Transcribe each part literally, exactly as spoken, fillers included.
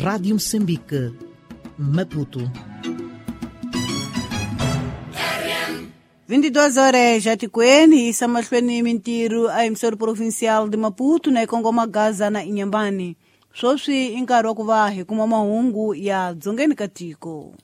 Rádio Moçambique, Maputo. vinte e duas horas já tikweni isa mahlweni mintirho a emissora provincial de Maputo na Ikongoma Gaza na Inhambane. Sweswi i nkarhi wa ku va hi kuma mahungu ya dzongeni ka tiko.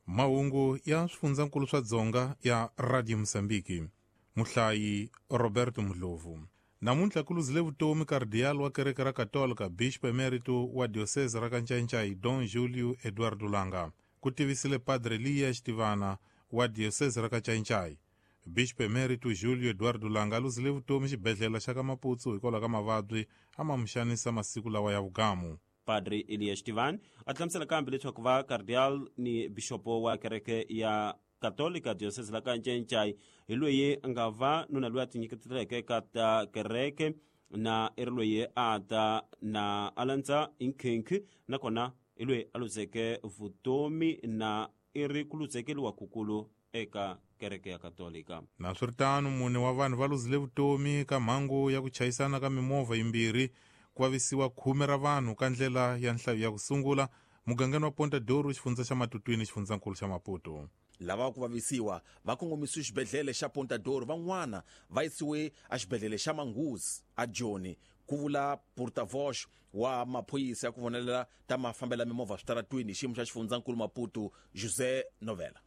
Mahungu ya swifundzankulu swa Dzonga ya Radio Mozambique. Muhlayi Roberto Mdlovu. Namuntlha ku luzile vutomi kardiyali wa kereke ra Katolika Bishop Emerito wa diocese ra Kanchanchai Don Julio Eduardo Langa. Ku tivisile Padre Liya Xitivana wa diocese ra Kanchanchai. Bishop Emerito Julio Eduardo Langa a luzile vutomi xibedhlele xa ka Maputsu hikwalaho ka mavabyi a ma mu xanisa masiku lawa ya vugamu. Padre Elias Tivan a hlamusela kambe leswaku va cardial ni bishopo wa kereke ya Katolika diocese la Kanchenchai hi loyi a nga va nuna loyi a tinyiketeleke ka ta kereke na i ri loyi a ta na a landza nkhinkhi nakona i loyi a luzeke vutomi na i ri ku luzekeliwa kukulu eka kereke ya Katolika. Naswiritano mune wa vanhu va luzile vutomi ka mhangu ya ku chayisana ka mimovha yimbirhi ku vavisiwa khume ra vanhu ka ndlela ya nhlayo ya ku sungula mugangeni wa Ponta Douro xifundza xa Matutwini xifundzankulu xa Maputo. Lava ku vavisiwa va kongomisiwe xibedhlele xa Ponta Douro, van'wana va yisiwe exibedhlele xa Manguzi a Joni, ku vula porta-voz wa maphorisa ya ku vonelela ta mafambela mimovha switaratwini xiyimo xa xifundzankulu Maputo José Novela.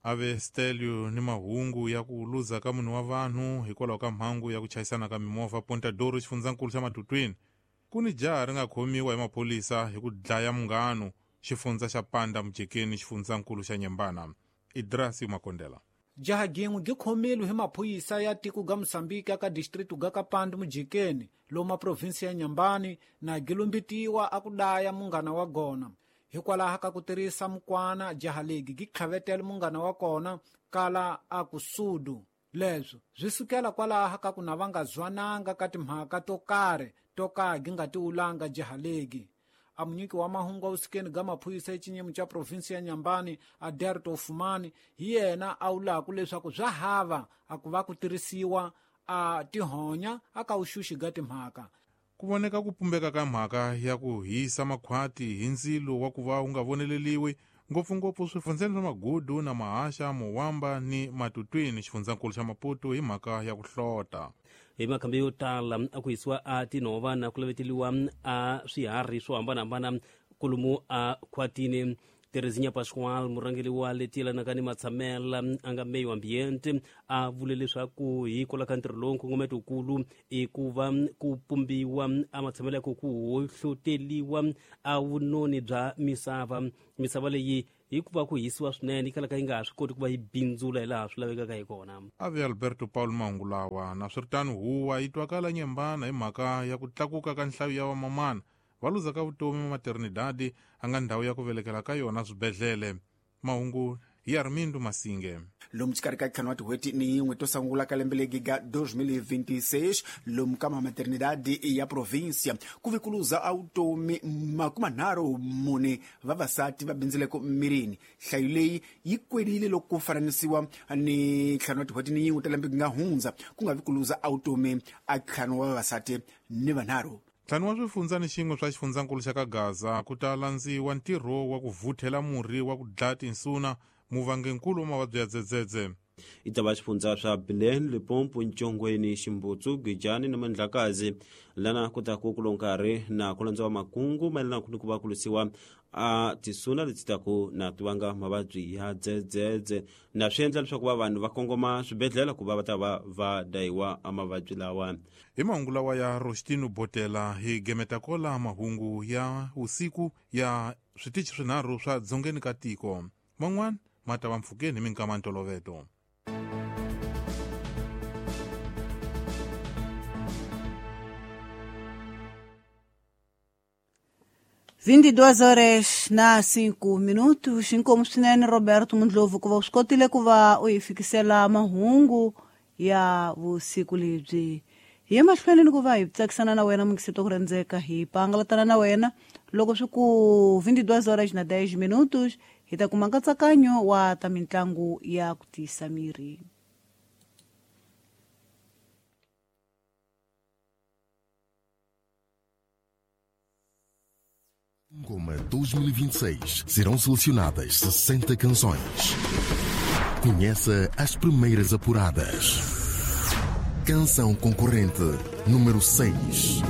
Ave Stelio ni mahungu ya ku luza ka munhu wa vanhu hikwalaho ka mhangu ya ku chayisana ka mimovha Ponta Douro xifundzankulu xa Matutwini. Ku ni jaha ri nga khomiwa hi maphorisa hi ku dlaya munghano xifundza xa Panda Mujekeni xifundzankulu xa Nyembana. Idrasi Makondela. Jaha gin'we gi khomile hi maphorisa ya tiko ga Mozambique ka district ga ka Panda Mujekeni loma province ya Nyambani na gilumbitiwa a ku daya munghana wa gona. Hikwalaho ka ku tirhisa mukwana jaha legi gi tlhavetela munghana wa kona kala a ku sudu. Leswo swi sukela kwalaho ka ku na va nga zwananga ka timhaka to karhi to ka gi nga tiwulanga jaha legi. A munyiki wa mahungu a vusikeni ga maphorisa exinyimo xa provinsi ya Nyambani Aderto Fumani hi yena a wulaku leswaku swa hava a ku va ku tirhisiwa a tihonya a ka vuxuxi ga timhaka. Ku voneka ku pumbeka ka mhaka ya ku hisa makhwati hi ndzilo wa ku va wu nga voneleliwi ngopfungopfu swifundzeni swa Magudu na Mahasha, Mowamba ni Matutwini xifundzankulu xa Maputo hi mhaka ya ku hlota. Hi makhambi yo tala a ku hisiwa a tinhova na ku laveteliwa a swiharhi swo hambanahambana kolomu a khwatini. Terezinha Pascoal murhangeri wa leti yelanaka ni matshamela a nga meyo ambiente a vule leswaku hikwalaho ka ntirho lowu nkongometo wukulu i ku va ku pumbiwa a matshamelo ya ku ku hohloteliwa a vunoni bya misava. Misava leyi hikuva ku hisiwa swinene yi kalaka yi nga ha swi koti ku va yi bindzula hi laha swi lavekaka hi kona. Ave Alberto Paulo mahungu lawa. Naswiritano huwa yi twakala Nyembana hi mhaka ya ku tlakuka ka nhlayo ya vamamana va luzaka vutomi maternidade a nga ndhawu ya ku velekela ka yona swibedhlele. Mahungu hi Armindo Masinge. Lomu xikarhi ka ntlhanu wa tin'hweti ni yin'we to sungula ka lembe legi ga dois mil e vinte e seis lomu ka maternidade ya província ku ve ku luza a vutomi makumanharhu mune vavasati va bindzileko mirini. Nhlayo leyi yi kwelile loko ku fananisiwa ni ntlhanu wa tin'hweti ni yin'we ta lembe nga hundza ku nga vi ku luza a vutomi a ntlhanu wa vavasati ni vanharhu. Ntlhanu wa swifundza ni xin'we swa xifundzankulu xa ka Gaza ku ta landziwa ntirho wa ku vuthela murhi wa ku dlaya tinsuna muvangenkulu wa mavabyi ya dzedzedze. I ta va xifundza swa Bilene, Limpopo, Ntshongweni, Ximbutsu, Gijani na Mandlakazi lana ku ta ku kulo nkarhi na ku landziwa makungu mayelana ni ku va ku lwisiwa a tisuna leti taku na ti vanga mavabyi ya dzedzedze na swi endla leswaku va vanhu va kongoma swibedhlele ku va va ta va va dayiwa a mavabyi lawa. Hi mahungu lawa ya Rostino Botela hi gemeta kola mahungu ya usiku ya switichi swinharhu swa dzongeni ka tiko. Man'wana ma ta va mpfhukeni hi minkama ntoloveto. vinte e duas horas na cinco minutos. Inkomu swinene Roberto Mundlovu ku va u swi kotile ku va u hi fikisela mahungu ya vusiku lebyi. Hi ye mahlweni ni ku va hi tsakisana na wena mukisito ku rhendzeka hi pangalatana na wena loko swi ku vinte e duas horas na dez minutos hi ta kuma nkatsakanyo wa ta mitlangu ya ku tiyisa miri. Ngoma dois mil e vinte e seis serão selecionadas sessenta canções. Conheça as primeiras apuradas. Canção concorrente número seis.